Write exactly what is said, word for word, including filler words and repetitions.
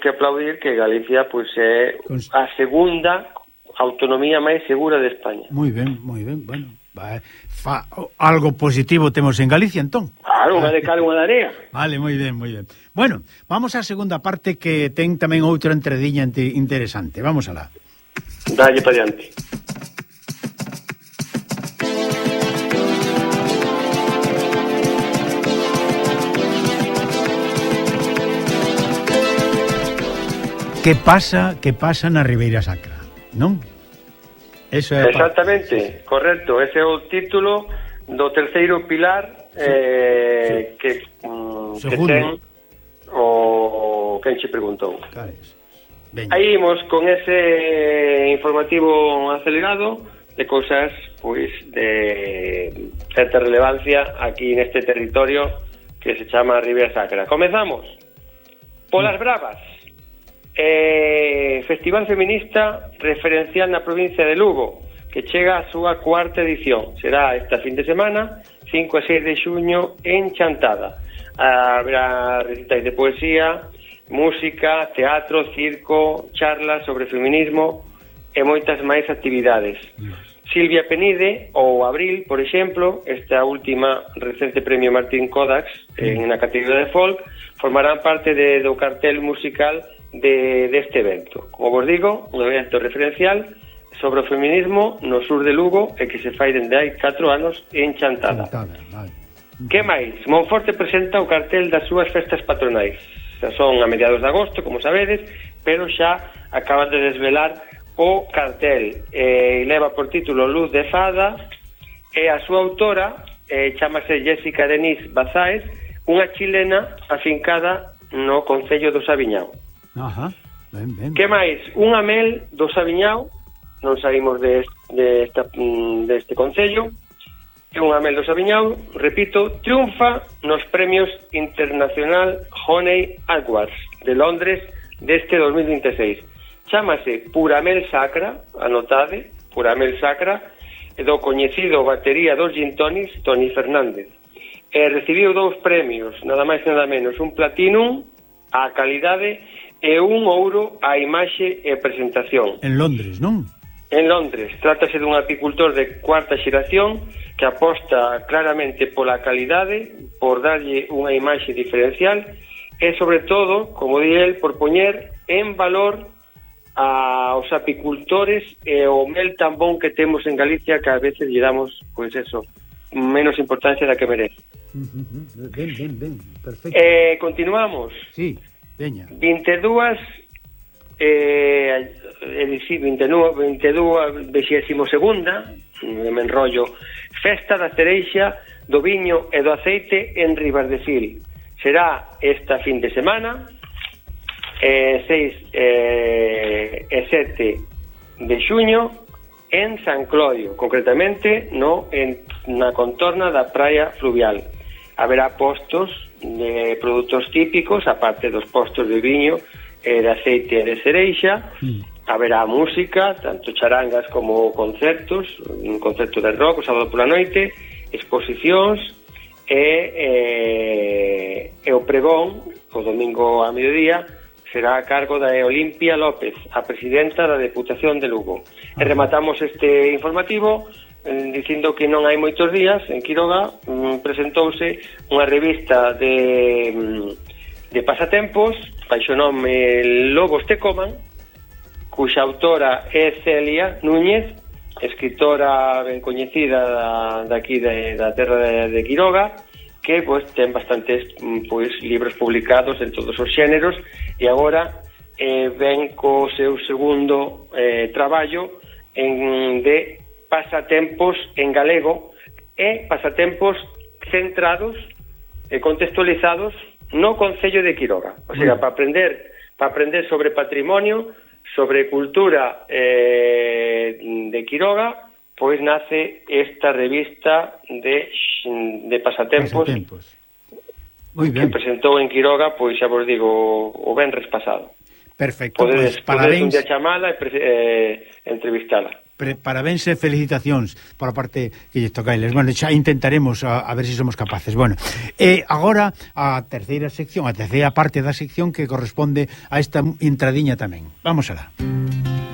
que aplaudir que Galicia pois é a segunda autonomía máis segura de España. Moi ben, moi ben, bueno, va, fa, algo positivo temos en Galicia, entón. Claro, unha de cal, unha de area. Vale, moi ben, moi ben. Bueno, vamos á segunda parte que ten tamén outra entrediña interesante. Vamos alá. Dalle para diante. Que pasa, que pasa na Ribeira Sacra, non? Eso é exactamente, pa... correcto. Ese é o título do terceiro pilar eh, sí. que, um, que ten o quen che preguntou. Aí imos con ese informativo acelerado de cousas pois de certa relevancia aquí neste territorio que se chama Ribeira Sacra. Comezamos polas bravas. Eh, Festival Feminista referencial na provincia de Lugo, que chega a súa cuarta edición. Será esta fin de semana, cinco e seis de xuño, en Chantada. Habrá recitais de poesía, música, teatro, circo, charlas sobre feminismo e moitas máis actividades. Silvia Penide ou Abril, por exemplo, esta última recente premio Martín Kodax en na categoría de folk, formarán parte de, do cartel musical de deste evento. Como vos digo, un evento referencial sobre o feminismo no sur de Lugo e que se fai dende hai catro anos en Chantada. Chantada, vale. Que máis? Monforte presenta o cartel das súas festas patronais. Xa son a mediados de agosto, como sabedes, pero xa acaban de desvelar o cartel. E leva por título Luz de Fada e a súa autora eh, chamase Jessica Denise Bazáez, unha chilena afincada no concello do Sabiñao. Ajá, ben, ben. Que máis? Unha mel do Sabiñao, non saímos de, de esta, de este concello, é unha mel do Sabiñao, repito, triunfa nos premios Internacional Honey Awards de Londres deste dos mil vinte e seis. Chámase Pura Mel Sacra, anotade, Pura Mel Sacra, do coñecido batería dos gin tonics, Toni Fernández. E recibiu dous premios, nada máis nada menos, un platinum á calidade e un ouro á imaxe e presentación. En Londres, non? En Londres. Trátase dun apicultor de cuarta xeración que aposta claramente pola calidade, por darlle unha imaxe diferencial e, sobre todo, como di el, por poñer en valor aos apicultores e o mel tan bon que temos en Galicia, que a veces lle damos, pois eso, menos importancia da que merece. Uh-huh. Ben, ben, ben, perfecto. Eh, continuamos. Sí. Veña. vinte e dúas eh, vinte e dúas vexésimo segunda me enrollo Festa da Cereixa, do Viño e do Aceite en Ribardefil. Será esta fin de semana eh, seis eh, e sete de xuño en San Clodio, concretamente no en, na contorna da praia fluvial. Haberá postos de produtos típicos, aparte dos postos de viño e de aceite e de cereixa. Mm. Haberá música, tanto charangas como concertos, un concerto de rock o sábado pola noite, exposicións e, e, e o pregón o domingo a mediodía será a cargo da Olimpia López, a presidenta da Deputación de Lugo. E rematamos este informativo dicindo que non hai moitos días en Quiroga mm, presentouse unha revista de, de pasatempos baixo nome Lobos te coman, cuxa autora é Celia Núñez, escritora ben coñecida da, daqui de, da terra de, de Quiroga, que pois ten bastantes pois libros publicados en todos os xéneros e agora eh, ven co seu segundo eh, traballo en de pasatempos en galego e pasatempos centrados e contextualizados no concello de Quiroga. O sea, para aprender, para aprender sobre patrimonio, sobre cultura eh, de Quiroga, pois nace esta revista de de pasatempos, pasatempos. Muy bien. Que presentou en Quiroga, pois xa vos digo, o venres pasado. Perfecto, podedes, pues parabéns. Podedes un día chamala e eh, entrevistala. pre, parabéns e felicitacións por a parte que lle toca a eles. Bueno, xa intentaremos a, a ver se si somos capaces. Bueno, e agora a terceira sección, a terceira parte da sección que corresponde a esta entradiña tamén. Vamos alá.